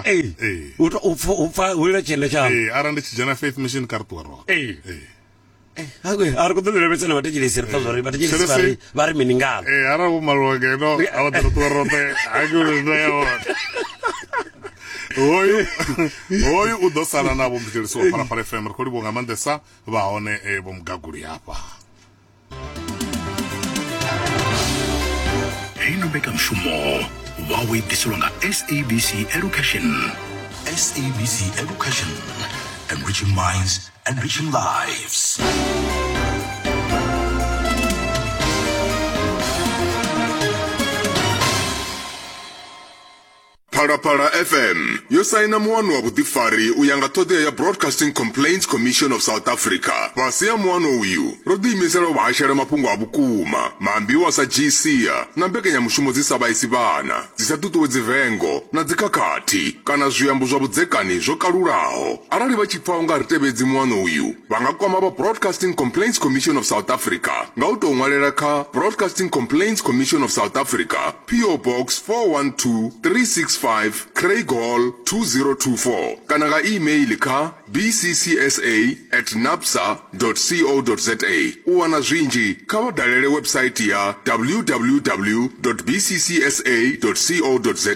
Tshanga. Ee. Ee. U to u pfa u pfa hu lila tshienda tshaṋu. Ee, arali ndi tshi dzhena Faith Mission kha ri ṱuwe roṱhe. Ee. Ee. Hakwe, a ri khou ḓo ḽi lavhelesa na vhathetshelesi ri pfa zwa uri vhathetshelesi vha ri vha ri mini ngalo. Ee, arali vho maliwa ngeno a vha ḓo ri ṱuwe roṱhe hangei hune nda ya hone. Hoyu hoyu u ḓo sala na vho muthetshelesi wa Phalaphala FM ri khou livhuwa nga maanḓesa vha hone eh, vho mugaguli hafha. Heino mbekanmushumo vha wo i ḓiselwa nga SABC Education. SABC Education, enriching minds, enriching lives. Phalaphala FM yo saina muano wa vhuḓifari u ya nga ṱhoḓea ya Broadcasting Complaints Commission of South Africa. Fhasi ha muano uyu, ro ḓiimisela u vha hashela mafhungo a vhukuma, maambiwa a sa dzhii sia na mbekanyamushumo dzi sa vhaisi vhana, dzi sa ṱuṱuwedzi vengo na dzikhakhathi kana zwiambo zwa vhudzekani zwo kalulaho. Arali vha tshi pfa u nga ri tevhedzi muano uyu, vha nga kwama vha Broadcasting Complaints Commission of South Africa nga u tou ṅwalela kha Broadcasting Complaints Commission of South Africa, PO Box 412365, Craighall 2024 kana nga e-mail kha bccsa at nabsa co za. U wana zwinzhi kha vha dalele website ya www bccsa co za.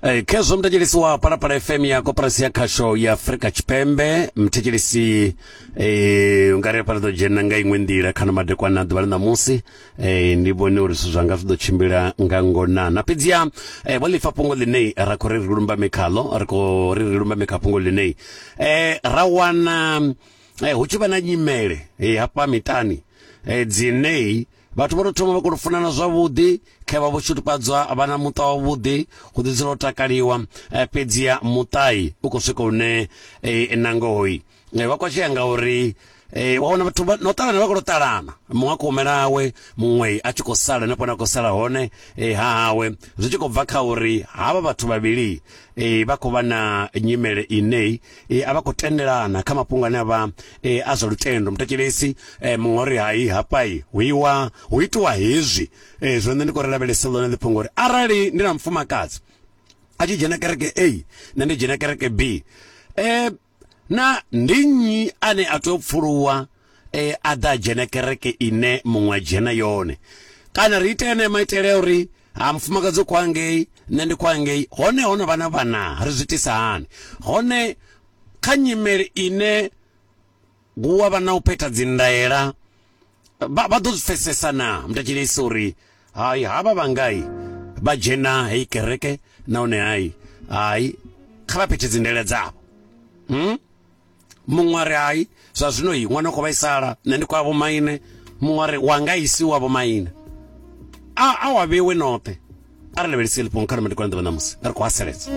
Eh, khezwo muthetshelesi wa Phalaphala FM ya koporasi ya khasho ya Afrika Tshipembe muthetshelesi eh, u nga ri hafha ri ḓo dzhena nga iṅwe nḓila kha no madekwana a ḓuvha ḽa ṋamusi eh, ndi vhone uri zwithu zwanga zwi ḓo tshimbila nga ngonana fhedziha eh, vho ḽifa fhungo ḽine ra khou ri ri lumbame khaḽo ri khou ri ri lumbame kha fhungo ḽine eh, ra wana eh, hu tshi vha na nyimele eh, hafha miṱani eh, dzine Vhathu vho tou thoma vha kona u funana zwavhuḓi, khe vha vho shutufhadzwa vha na muṱa wavhuḓi, hu ḓi dzula u takaliwa, eh, fhedziha muṱai u khou swika hune eh, na ngohoi eh, vha kwashea ngauri eh, wa wana vhathu no ṱalana vha khou tou ṱalana, muṅwe a khou humela hawe, muṅwe a tshi khou sala henefho hune a khou sala hone eh, ha hawe, zwi tshi khou bva kha uri havha vhathu vhavhili eh, vha khou vha na nyimele ine eh, a vha khou tendelana kha mafhungo ane a vha eh, a zwa lutendo. Muthetshelesi eh, muṅwe uri hai hafhai hu iwa hu itiwa hezwi eh, zwino nṋe ndi khou ri lavhelesa ḽone ḽi fhungo uri arali ndi na mufumakadzi a tshi dzhena kereke A nṋe ndi dzhena kereke B eh, na ndi nnyi ane a tea u pfuluwa eh, a ḓa a dzhena kereke ine muṅwe a dzhena yone kana ri ite ene maitele a uri ha mufumakadzi u khou angei nṋe ndi khou angei hone ho no vha na vhana ri zwi itisa hani hone kha nyimele ine hu a vha na u phetha dzindaela vha vha ḓo zwi pfesesa na mutetshelesi uri hai havha vhangai vha dzhena heyi kereke nahone hai hai kha vha phethe dzindaela dzavho hmm? muṅwe a ri hai zwa zwino yi ṅwana u khou vhaisala nṋe ndi khou ya vhomaine muṅwe a ri wanga isi wa vhomaine a a wa vhewe noṱhe a ri lavhelese ḽi fhungo kha ri madekwana ḓuvha ṋamusi ri khou haseledza.